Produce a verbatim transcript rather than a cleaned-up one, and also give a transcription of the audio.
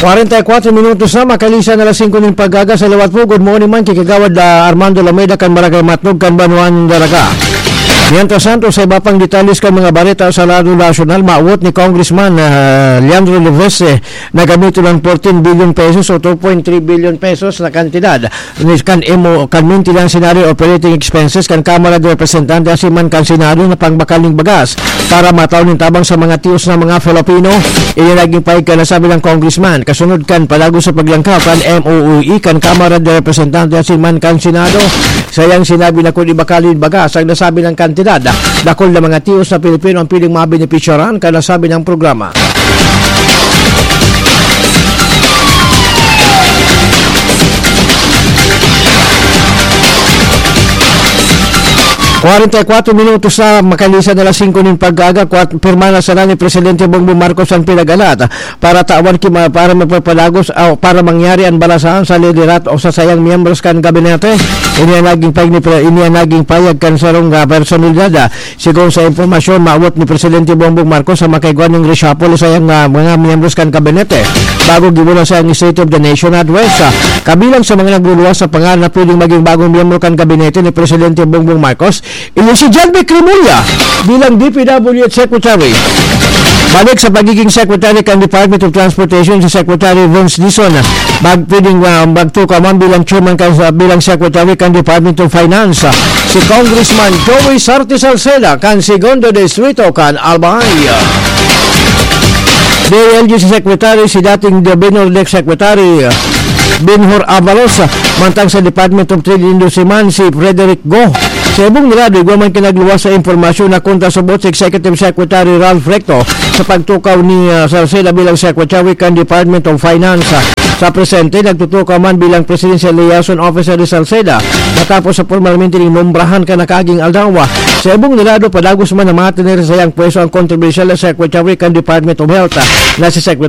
Kwarenta y kwatro minutos na, makalisan na alas singko nin pag-aga. Sa liwat po, good morning man, ki Kagawad, ah, Armando Lameda kan Barangay Matnog kan Banwaan Daraga. Mientras tanto, sa iba pang detalles kan mga bareta sa lado nasyonal, mawot ni Congressman, ah, Leandro Levese na gamiton ang fourteen billion pesos o two point three billion pesos na kantidad ni kan M O, kan Maintenance and Other Operating Expenses kan Kamara de Representante asin man kan Senado na pangbakal nin bagas para matao nin tabang sa mga tios na mga Filipino. Ini naging pahayag kan nasabing congressman kasunod kan padagos sa paglangkaw kan M O O E kan Kamara de Representante asin man kan Senado. Sa iyang sinabi na kun ibakal nin bagas ang nasabing kantidad, dakul na mga tios na Pilipino ang piling mabenepisyaran kan nasabing programa. Kwarenta y kwatro minutos na, makalisan na alas singko nin pag-aga, kwat-, pirma na sana ni Presidente Bongbong Marcos ang pinag-alat para tawan ki ma-, para mapapalagos o para mangyari ang balasahan sa liderato o sa sayang miyembros kan gabinete. Ini ang naging pahayag ni Pre-, ini ang naging pahayag kan sarong, ah, personalidad, ah, Sigon sa impormasyon, maawot ni Presidente Bongbong Marcos sa makaigwa ning reshuffle sa iyang, ah, mga miyembros kan kabinete bago gibo na sa iyang State of the Nation Address. Ah, kabilang sa mga nagluluwas sa pangalan na pwedeng maging bagong miyembro kan kabinete ni Presidente Bongbong Marcos, ini si John Vic Remulla bilang D P W H Secretary. Balik sa pagiging Secretary kan Department of Transportation si Secretary Vince Dizon, mag-, pwedeng, ah, magtukaw man bilang chairman kan, bilang Secretary kan Department of Finance, ah, si Congressman Joey Sarte Salceda kan Segundo Distrito kan Albay. D I L G C Secretary si dating Binhor Desk Secretary, ah, Benhur Abalos, ah, mantang sa Department of Trade and Industry man si Frederick Go. Sa ibong lado, igwa man ki nagluwas sa impormasyon na kontra subot si Executive Secretary Ralph Recto sa pagtukaw ni, ah, Salceda bilang Secretary kan Department of Finance. Sa presente, nagtutukaw man bilang Presidential Liaison Officer ni Salceda matapos sa pormalmente ning nombrahan kan nakaaging aldaw. Sa ibong lado, padagos man na matener sa iyang pwesto ang kontrobersyal na Secretary kan Department of Health, ah, na si Secretary